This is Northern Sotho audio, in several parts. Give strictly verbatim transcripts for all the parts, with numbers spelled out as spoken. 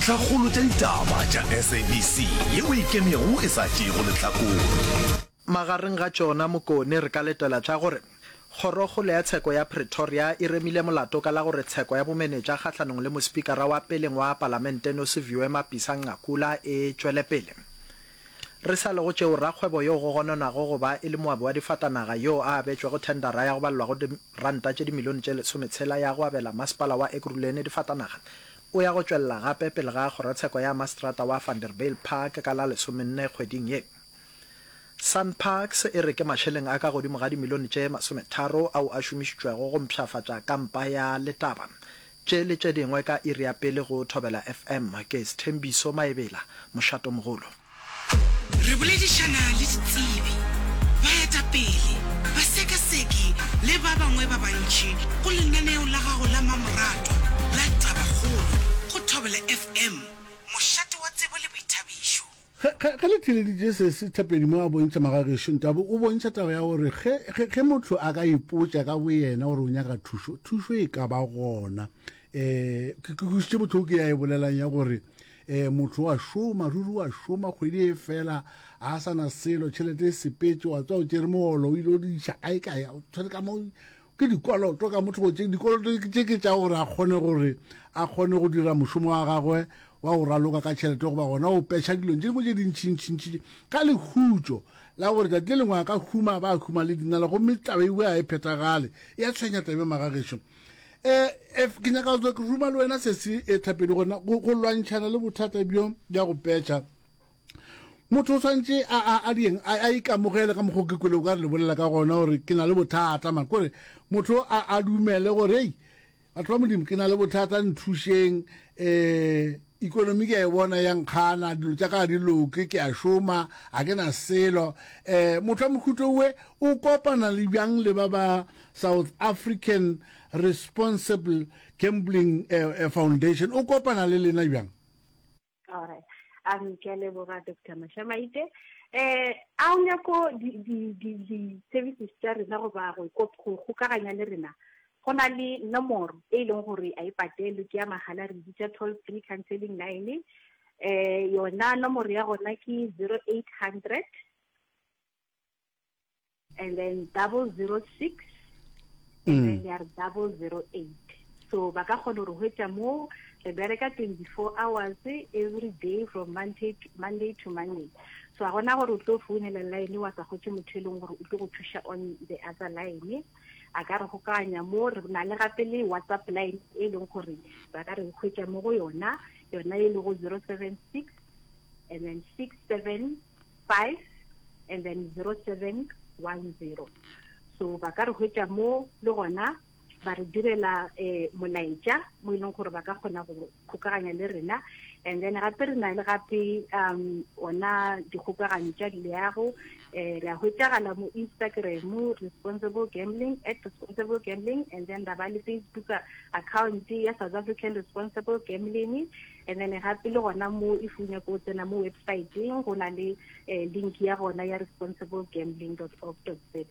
Tlhakgolo tša ditaba tša S A B C yeo e ikemego e sa tšeego lehlakore. Magareng ga tšona Mokone re ka letela tša gore Kgorokgolo ya Tsheko ya Pretoria e remile molato ka la gore tsheko ya bomenetša kgahlanong le mospikara wa peleng wa Palamente Nosiviwe Mapisa-Nqakula e tšwele pele. Re sa le go tšeo, rakgwebo yo go gononwago go ba e le moabi wa difatanaga yoo a abetšwego thendara ya go balelwa go diranta tše dimilione tše lesometshela ya go abela masepala wa Ekurhuleni difatanaga o ya go tšwelela gape pele ga kgorotsheko ya maseterata wa Vanderbijlpark ka la lesomenne kgweding ye. SANParks e re ke mašeleng a ka godimo ga dimilione tše masometharo ao a šomišitšwego go mpshafatša kampa ya Letaba. Tše le tše dingwe ka iri ya pele go Thobela F M. Ke Sthembiso Maebela, Mošatomogolo. Re boledišana le ditsebi, baetapele, basekaseki le ba bangwe ba bantši go lenaneo la gago la mmamoratwa la Tabakgolo go Thobela F M, mošate wa tsebo le boithabišo. Ge, ge, ge le theeleditše se, se Thapedi mo a bontšha magagešo, Ntabo o bontšha taba ya gore ge, ge, ge motho a ka ipotša ka boyena gore o nyaka thušo, thušo e ka ba gona. Um ke, ke kwešišitše bohloko ke ya e bolelang ya gore um motho wa šoma, ruri wa šoma, kgwedi e fela a sa na selo, tšhelete e sepetše, wa tswa o tšere mogolo o ile o di iša kae kae, o tshwere ka mo ke dikoloto ka motho go tše dikoloto tše ke tša gore a kgone gore a kgone go dira mošomo wa gagwe wa go raloka ka tšhelete goba gona o petšha dilong tše dingwe tše dintšintšintši ka lehutšo la gore tšatši le lengwe a ka huma ba huma le dinala, gomme taba ewe a e phethagale, e a tshwenya tabe magagešo. um ke nyaka go ke ruma le wena se se e Thapedi gona go lwantšhana le bothata bjo bja go petšha. Motho o swantše a a dieng a ikamogele ka mokgwa ke kwele o ka re le bolela ka gona gore ke na le bothata man, kore motho a a dumele gore ei, batho ba Modimo, ke na le bothata, nthušeng. um economy ke a e bona ya nkgana, dilo tša ka di loke, ke a šoma, a ke na selo. um motho wa mohuto we o kopana le bjang le ba ba South African Responsible Gambling uh, Foundation? O kopana le lena bjang? Alright, um ke a leboga, Doctor Mashamaite. eh a o nyako di-services tša rena goba go kgokaganya le rena, go na le nomoro e leng gore a e patelwe, ke ya mahala, re bitša toll free counseling line. eh yona nomoro ya gona ke zero eight hundred and then double zero six and then ya re double zero eight. So ba ka kgona gore hwetša mo re bereka twenty-four hours every day from monday to monday, to Monday. So a gona gore o tlo founela line wa sa hwetše motho e leng gore o tlo go thuša on the other line. A ka re gokaganya mo. Re na le gape le WhatsApp line e leng gore ba ka re hwetša mo go yona, yona e lego zero seven six and then six seven five and then zero seven one zero. So ba ka re hwetša mo le gona ba re direla um molaetša mo e leng gore ba ka kgona go kgokaganya le rena. And then gape re na le gape um ona dikgokaganyo tša leago. um re a hwetšagala mo Instagram, responsible gambling, at responsible gambling, and then ra ba le Facebook account ya South African Responsible Gambling. And then gape le gona mo if o nyako tsena mo websiteng, go na le um link ya gona ya responsible gambling dot org dot za.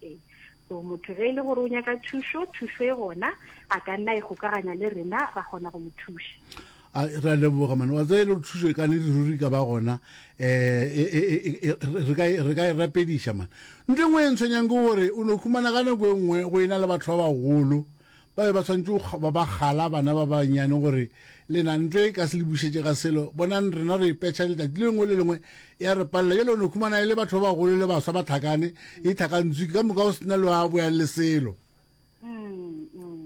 So motho ge e le gore o nyaka thušo, thušo e gona, a ka nna e kgokaganya le rena, ra kgona go mo thuša. A re a leboga mane. Wa tseba e le gore thušo e ka ne ruri ka ba gona, um re ka re ka e rapediša mane. Ntho e nngwe e ntshwenyang ke gore o no khumana ka nako e nngwe go ena le batho ba bagolo ba be ba tshwanetse go ba ba gala bana ba bannyane gore lena ntlo e ka se le bušetše ga selo, bonang rena re petšha letšatši le lengwe le lengwe ya re palela. Jale o no khumana e le batho ba bagolo le baswa ba tlhakane e tlhakantswe ka moka, o sena le wa boyang le selo.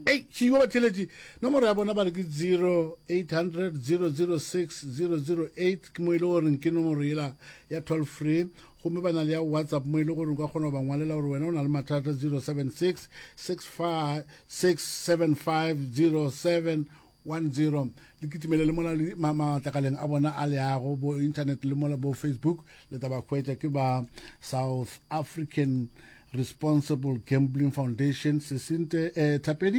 Ei šiwa batheletši, nomoro ya bona ba re ke zero eight hundred zero zero six zero zero eight, ke mo e le goreng ke nomoro yela ya toll free, gomme ba na le ya WhatsApp mo e le gore o ka kgona go ba ngwalela gore wena o na le mathata, zero seven six six five six seven five zero seven one zero. Le kitimele le mola matlakaleng a bona a leago bo internet le mola bo Facebook, le taba hwetša ke ba South African Responsible Gambling Foundation. Sesinte eh, Thapedi.